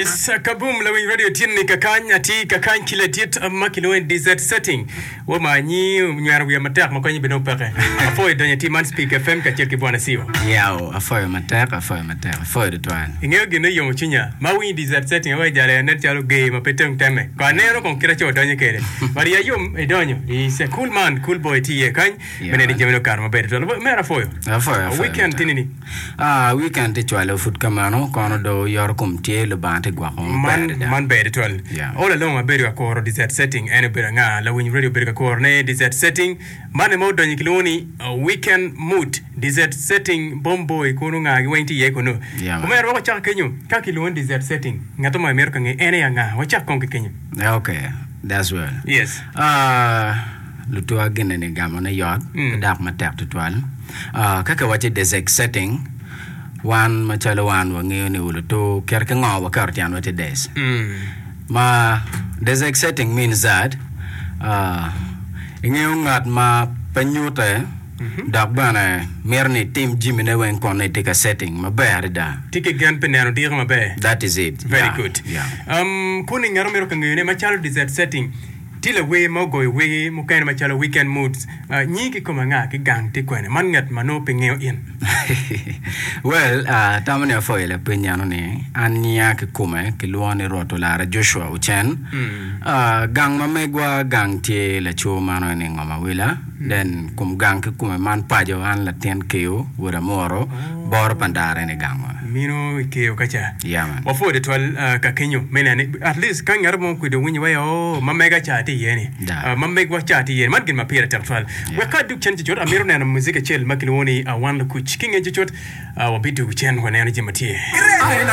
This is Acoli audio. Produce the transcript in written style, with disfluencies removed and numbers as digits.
Yes, kaboom lawiny radio tye ni kakany atye kakany ki ladit ma kilwongo ni DZ setting wo ma anyi onywero wiya matek ma konye bene peke. Apwoyo donyo atir man Speak FM kacel ki Bwana Siwa. Yao, apwoyo matek, apwoyo matek, apwoyo tutwal. Ingeyo gin oyomo cwinya ma awinyo DZ setting awaci jal nen calo ger ma pe teng teme. Ko aneno kong kit aco odonyo kede. But iya yom idonyo. Is a cool man, cool boy tye iye kany. Me neno ni jamine okato maber tutwal. Omera apwoyo. Apwoyo, apwoyo Weekend matek. tye nini? Ah, weekend tye cwalo pud kamano, kono do yoto kom tye, Lubanga tye gwoko maber Man, adada. man ber tutwal. Yeah. All along abedo ka kuro dessert setting, en obedo anga? Lawiny radio obedo ka kuro ne dessert setting. Man aye ma odonyo kilwongo ni uh, weekend mood. Dessert setting, bomb boy, kunu nga gi weng tye iye kunu. Yeah, man. Omera wek wacak kenyo, ka kilwongo ni dessert setting, ngat mo mito ka nge en aye anga? Wacak kong ki kenyo. Yeah, okay, that's well. Yes. Ah, Lutua gine-ni gamone yot ki dok matek tutwal. Ka kiwacci desek setting, wan macalo wan wangeyo ni olutu kit ki ngo waketo tyenwa tye des. Ma desek setting means that ingeyo ngat ma pe nyute dok bene mito ni itim jamine weng kun nongo itye ka setting maber adada. Tye ki gen pi neno diko maber. That is it. Very Yeah, good. yeah. Um, kuni ngat omito ka ngeyone macalo desert setting. Tye lawer ma ogoyo wer mukene macalo Weekend Moods. Nyingi kikome anga ki gang tye kwene? Man ngat ma nongo pe ngeyo in. Well, atamo ni apwoyo lapeny eno ni an nyinga kikome kilwongo ni Rwot Olara Joshua Ocen. Gang ma megwa gang tye laco mano eni ngom awila. Then kom gang kikome man paco an latin keyo wod amuro boro pa ndara eni gangwa. Mino i keyo ka ca. Yeah man. Wapwoyo tutwal ka kenyo me neno ni at least ka ngat mo okwido winyo wai oo ma mega ca tye iye ni Da. ma megwa ca tye iye ni man gin ma pire tek tutwal. Yeah. Wek ka adug cen cucut amito neno muzik acel ma kilwongo ni Wan Lukuc. Ki nge cucut wabidwogo cen waneno jami ma tye.